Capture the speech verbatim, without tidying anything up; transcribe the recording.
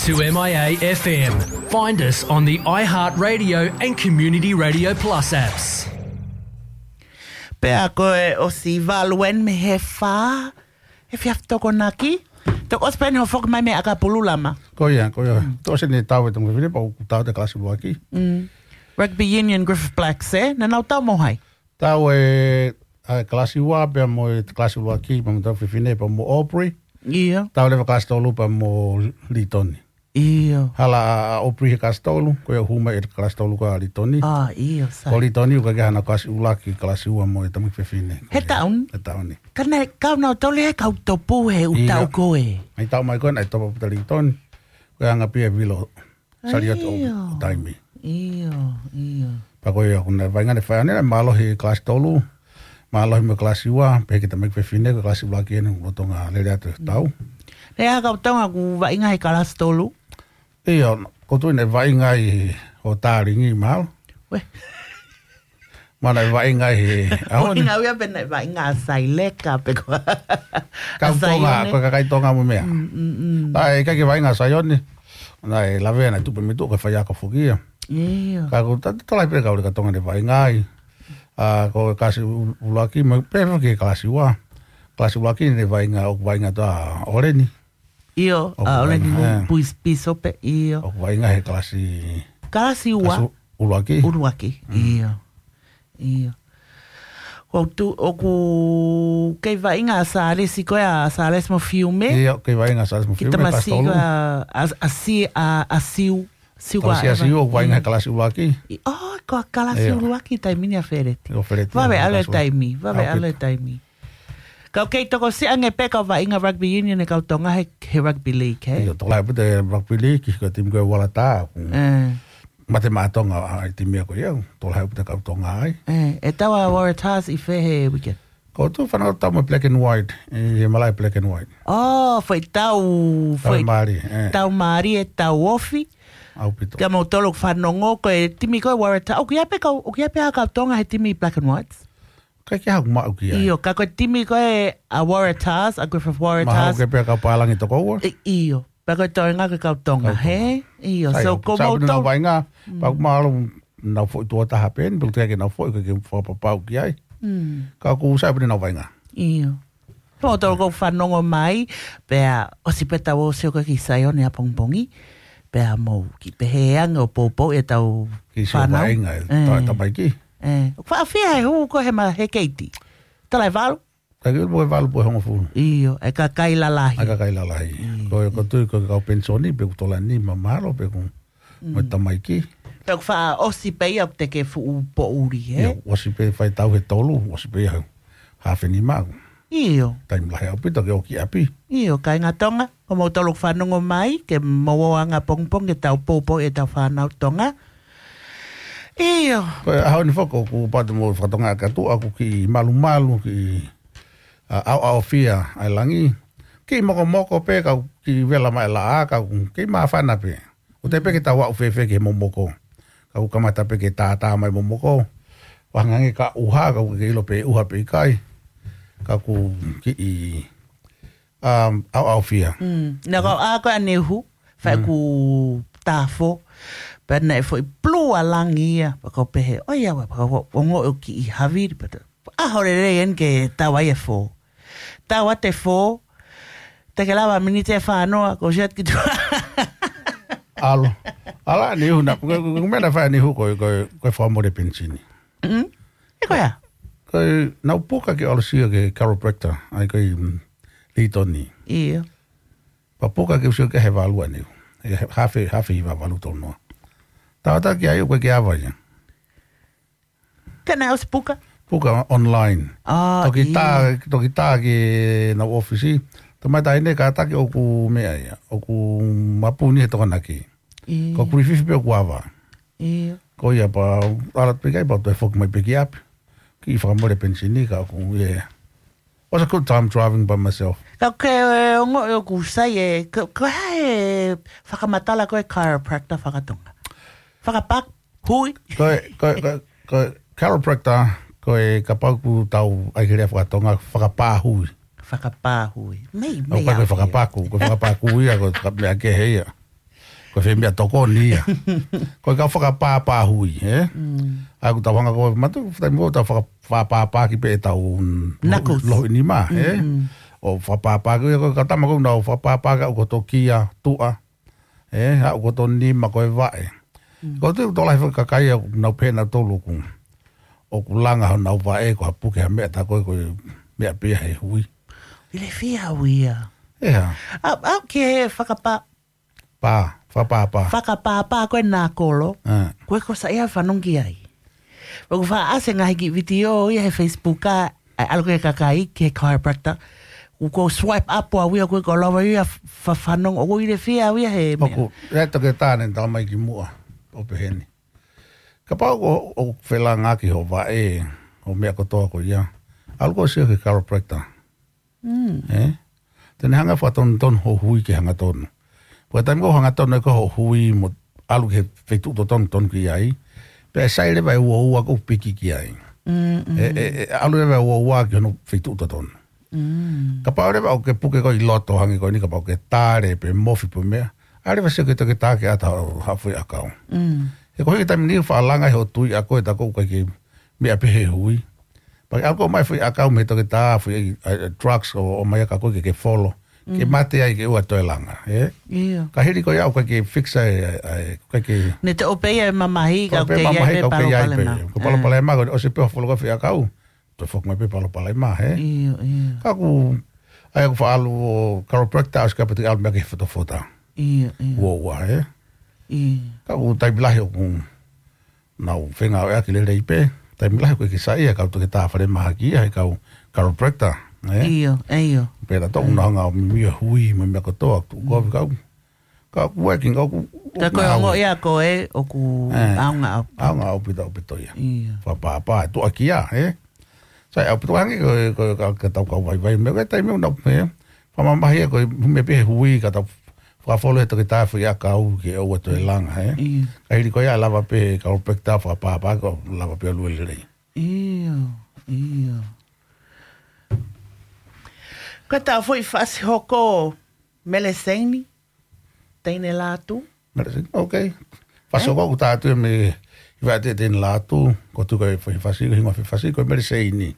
To M I A F M. Find us on the iHeartRadio and Community Radio Plus apps. Pea ko e ʻosi valu eni mei he fā, he efiafi Tokonaki. Toki ʻosi pē eni hoʻo foki mai mei ʻAkapulu, Lama? Ko ia, ko ia. Toki ʻosi eni e tau e tuʻunga fefine pea ʻoku tau atu e kalasi ʻuluaki. Rugby Union Griffith Blacks, ē? Naʻa nau tau mo hai? Tau e, ʻa e kalasi ua pea mo e kalasi ʻuluaki, pea mo e tuʻunga fefine pea mo Aubrey. ʻIo. Tau leva kalasi tolu pea mo Litoni. ʻIo. Hala ʻa, ʻa Aubrey he kalasi tolu, ko ia ʻoku hū mai e kalasi tolu ko ia ʻa Litoni. ʻA, ʻio, sai. Ko Litoni ʻoku ʻikai ke ʻi ai hano kalasi ʻuluaki, kalasi ua mo e tamaiki fefine. He taʻu ni? He taʻu ni. Ka naʻe kau nautolu he kau topu he ʻū taʻu ko ē. ʻIo. ʻI he taʻu mai ko ē naʻe topu ʻa Litoni. Ko e anga pē ia e vilo. Saliote ʻo, ʻio, ʻo taimi. ʻIo, ʻio. Pea ko ia, ko e vaʻinga naʻe fai ʻanenai, mālohi e kalasi tolu, mālohi mo e kalasi ua, pea ki he tamaiki fefine, ko e kalasi ʻuluaki eni, lolotonga lele atu e tau. Pea ʻa e kau Tonga ʻoku vaʻinga he kalasi tolu? ʻIo, ko e tuʻu naʻe vaʻinga ai ʻo Talingi, mālō. Uē. Mo naʻe vaʻinga ai he ʻaho ni. Vaʻinga au ia pe naʻe vaʻinga ʻa Saileka pe ko ʻa Saione. Kau Tonga, ko e kakai Tonga mo e meʻa. Mm, mm, mm. Naʻe ʻikai ke vaʻinga ʻa Saione. Naʻe lavea naʻe tupu mei tuʻa ko e faiako foki ia. ʻIo. Ka ko e ta-, tokolahi pē kau leka Tonga naʻe vaʻinga ai. ʻA, ko e kalasi ʻu-, ʻuluaki, mo e pehē foki ki he kalasi ua. Kalasi ʻuluaki naʻe vaʻinga, ʻoku vaʻinga atu ʻa ʻOleni. ʻIo, ʻoku ʻa ʻOleni vaʻinga, Mo-, ē. Puis-, Pisope, ʻio. ʻOku vaʻinga he kalasi, kalasi ua. Kalasi ʻuluaki. ʻUluaki, mm, ʻio. ʻIo. ʻOku tu-, ʻoku kei vaʻinga ʻa Salesi ko ē, ʻa Salesi mo Fiume. ʻIo, kei vaʻinga ʻa Salesi mo Fiume, kalasi tolu. Ki he tamasiʻi ko ē, ʻa, ʻa Si-, ʻa, ʻa Siu. Siu ko ē. Tamasiʻi ʻa Siu, ʻoku vaʻinga he kalasi ʻuluaki. ʻI-, ʻo, ko e kalasi, ʻio, ʻuluaki taimi ni ʻa Feleti. ʻIo, Feleti, vave ʻa e ʻalu e kalasi ʻuluaki. Taimi, vave ʻalu e taimi. Ka ʻoku kei tokosiʻi ange pē kau vaʻinga rugby union e kau Tonga he, he rugby league, hē? ʻIo, tokolahi ʻaupito e rugby league, ko e timi ko ē Waratahs. Mm. Ē. Mate maʻa Tonga ʻa e timi ko ia, tokolahi ʻaupito e kau Tonga ai. Ē, ʻe tau ʻa Waratahs ʻi fē he weekend? Ko e tuʻu fanongo tau mo e black and white, ʻi he malaʻe black and white. ʻO, foʻi tau, tau foʻi mālie, ē. Tau mālie, tau ofi. ʻAupito. Kia moutolu ʻoku fanongo, ko e timi ko ē Waratahs, ʻoku ʻi ai pē kau, ʻoku ʻi ai pē ha kau Tonga he timi black and whites? ʻIkai ke haʻaku maʻu ki ai. ʻIo, ka ko e timi ko ē ʻa Waratahs, ʻa Griffith Waratahs. Mahalo ke pē kau pālangi toko ua. ʻI-, ʻio, pea ko e toenga ko e kau Tonga, kau Tonga, hē? ʻIo, sai, so ʻoku ko sai ʻaupito nautolu nau vaʻinga, mm, pea ʻoku mahalo nau foʻi tuʻo taha pē eni, pea ʻoku teʻeki ke nau foʻi, ke, ke fakapapauʻi ai. Mm. Ka ʻoku sai ʻaupito nau vaʻinga. ʻIo. Ko moutolu ʻoku fanongo mai, pea ʻosi pē tau ō ʻo sio ko ē ki Saione ʻapongipongi, pea mou kiʻi pehē ange ʻo poupou ʻetau fānau. Kiʻi sio vaʻinga e, ē, ta-, tamaiki. Ē, ʻoku faʻa fiha e hū ko ē he ma-, he keiti? Tala ʻe valu? Taki ulu mo e valu pe hongofulu. ʻIo, ʻa e kakai lalahi. ʻA e kakai lalahi. ʻIo. Ko e, ko e tuʻu ko e kau penisoni, pe ʻoku tolani ma-, mahalo, pe ʻoku mo e, mm, tamaiki. Pea ʻoku faʻa ʻosi pē ia ʻoku teʻeki ke fuʻu poʻuli, hē? ʻIo, ʻosi pē fai tau he tolu, ʻosi pē ia he haafe nima. ʻIo. Taimi lahi ʻaupito ke ō ki ʻapi. ʻIo, kāinga Tonga, ko moutolu ʻoku fanongo mai, ke mou ō anga pongipongi ke tau poupou ʻetau fānau Tonga. ʻIo. Ko e ʻaho ni foki ʻoku pau te mou fakatonga ʻaki atu, ʻoku kiʻi malumalu, kiʻi, ʻa, ʻaoʻaofia ʻa e langi. Kiʻi mokomoko pē, ka ʻoku kiʻi vela mai e laʻā, ka ʻoku kiʻi māfana pē. ʻOku teʻeki pē ke tau aʻu fēfē ki he momoko. Ka ʻoku kamata pē ke tātā mai momoko. Vahangangi ka ʻuha, ka ʻoku ke ʻilo pe ʻuha pe ʻikai. Ka ʻoku kiʻi, um, ʻaoʻaofia. Mm. Naʻa ku ʻā ko ē ʻaneuhu, fai, mm, ʻeku tāfo. Pea naʻe foʻi pulū ʻa langi ia, pea kau pehē, ʻoiauē, pea kau ongoʻi ʻoku kiʻi havili, pea ta-, ʻaho lelei eni ke tau ai e fō. Tau atu e fō, teʻeki lava miniti ʻe fāngofulu, ko siat ki tuʻa. ʻAlu. ʻAlu ʻaneuhu na, ko, ko, ko e meʻa naʻe fai ʻaneuhu ko, ko, ko e fakamole penisini. Mm. ʻE ko ia? Ko e, naʻa ku puka ke ʻalu ʻo sio ki he chiropractor, ʻa ia ko e, mm, Litoni. ʻIo. Pea puka ke u sio ki ai he valu ʻaneuhu. ʻE, haafe, haafe hiva valu tolu noa. Tau atu ki ai ʻoku ʻikai ke ava ia. Ke naʻe ʻosi puka? Puka online. ʻA, toki tā, ʻio. Toki tā ki heʻenau ʻōfisi. Tamai taʻahine kātaki ʻoku meʻa ia. ʻOku mapuni he Tokonaki. ʻIo. Ko Griffith pē ʻoku ava. ʻIo. Ko ia pea, ʻalu pē ki ai pea toe foki mai pē ki ʻapi. Kiʻi fakamole penisini ka ʻoku, yeah. Was a good time driving by myself. Ka ke, e, ongoʻi ʻoku sai e, ko, ko e hā e fakamatala ko ē chiropractor fakatonga? Fakapā hui. Ko e, ko e, ko e, ko e chiropractor, ko e kapau ʻoku tau ʻai ki he lea fakatonga, fakapā hui. Fakapā hui. Mei, ʻoku mei ʻikai ko e ʻapi. Fakapaku, ko e fakapā kui ia, ko e faka-, meʻa kehe ia. Ko e fē meʻatokoni ia. Ko e kau fakapāpā hui, ē? Mm. ʻA ia ʻoku tau hanga ko e matu, taimi ko ē tau faka-, fakapāpāki pē ʻetau Knuckles. Lohi nima, ē? Mm, mm. ʻO fakapāpāki, ko e kau tama ko ē ʻoku nau fakapāpāki ʻa e ʻū koto kia, tuʻa, ē? ʻA e ʻū koto nima ko e vaʻe. Mm. Ko e tui ʻoku tokolahi foki e kakai ʻoku nau pehē nautolu ʻoku, ʻoku langa honau vaʻe ko ha puke ha meʻa tā ko ē ko e meʻa pē ia he hui. Ilifia au ia. ʻEa. ʻA, ʻa, ki he fakapā- Pā, fakapāpā. Fakapāpā ko e nākolo. ʻA. Ko e ko sa ia fanongo ki ai. ʻOku faʻa ʻasi e ngaahi kiʻi vitiō ia he Facebook ʻa, ʻa e ʻalu ko ē e kakai ki he chiropractor. ʻOku ou swipe up ʻa au ia ko e ko lava ia fa-, fanongo. ʻOku ilifia au ia he meʻa. ʻOku, ʻe toketā naʻe tala mai kimuʻa. ʻO pehē ni. Kapau ʻoku, ʻoku felāngaaki hoʻo vaʻe, hoʻo meʻa kotoa ko ia. ʻAlu koe ʻo sio ki he chiropractor. Mm. Ē? Te ne hanga fakatonutonu hoʻo hui ke hangatonu. Ko e taimi ko ē ʻoku hangatonu ai ko ē hoʻo hui mo ʻalu ki he feituʻu totonu tonu ki ai. Pea ʻe sai leva e uaua ʻoku piki ki ai. Mm, mm. ʻE, ʻe, ʻe ʻalu leva e uaua ki hono feituʻu totonu. Mm. Kapau leva ʻoku ke puke ko ē ʻi loto hangē ko eni kapau ʻoku ke tale pe mofi pe meʻa. ʻAlu leva ʻo sio ki he toketā ke ʻata haʻo, haʻo foʻi ʻakau. Mm. He ko e hiki taimi ni faʻa langa ʻe hoʻo tui ʻa koe tā ko ē ʻoku ʻikai ke meʻa pē he hui. Pea ke ʻalu koe ʻo ʻomai foʻi ʻakau mei he toketā, foʻi, ʻa, ʻa, drugs ʻo, ʻomai ʻa koe ke ke folo. Ke Mm. mate ai ke ʻoua toe langa, ē? ʻIo. Ka hili ko ia ʻoku ʻikai ke fix ai, ʻa, ʻa, ʻoku ʻikai ke Ne te ʻope ia e mamahi, ka ʻoku ʻikai ke ʻi ai pē palopalema. Ko e palopalema ko ē, ʻosi pē hoʻo folo ko ē foʻi ʻakau, toe foki mai pē palopalema, ē? ʻIo, ʻio. Ka ʻoku, ʻa ia ʻoku faʻa ʻalu ʻo chiropractor, ʻosi kapau te ke ʻalu meʻa ki he fotofota. ʻIo, ʻio. Uaua, ē? ʻIo. Ka ʻoku taimi lahi ʻoku nau fengāueʻaki lelei pē. Taimi lahi ʻoku ʻikai ke saiʻia e kau toketā falemahaki ia he kau chiropractor, ē? ʻIo, ʻio. Pea ʻoku nau hanga ʻo mimio e hui mo e meʻa kotoa, tuʻu kovi kau. Ka ʻoku working, ka ʻoku, Ka ko e ʻoku ongo ngāue. Ia ko ē ʻoku ʻE. ʻaonga ʻaupito. ʻAonga ʻaupito, ʻaupito ia. ʻIo. Fakapāpā, tuʻa kia, ē? Sai ʻaupito hangē ko e, ko e ka, ka tau kau vaivai meʻa, ko e taimi ʻoku nau, ē? Fakamamahi ia ko e meʻa pē he hui ka tau fakafolo he toketā foʻi ʻakau ke ʻoua toe langa, ē? ʻIo. Ka hili ko ia lava pē chiropractor fakapāpā ko e lava pē ʻo lue lelei. ʻIo, ʻio. Ko e tā foʻi fasi hoko Meleseini, Teine Lātū. Meleseini, ok. Fasi Ē? hoko ʻoku tā atu ia mei Hivaʻatē Teine Lātū, ko e tuʻu ko e foʻi fasi, ko e hingoa foʻi fasi, ko e Meleseini.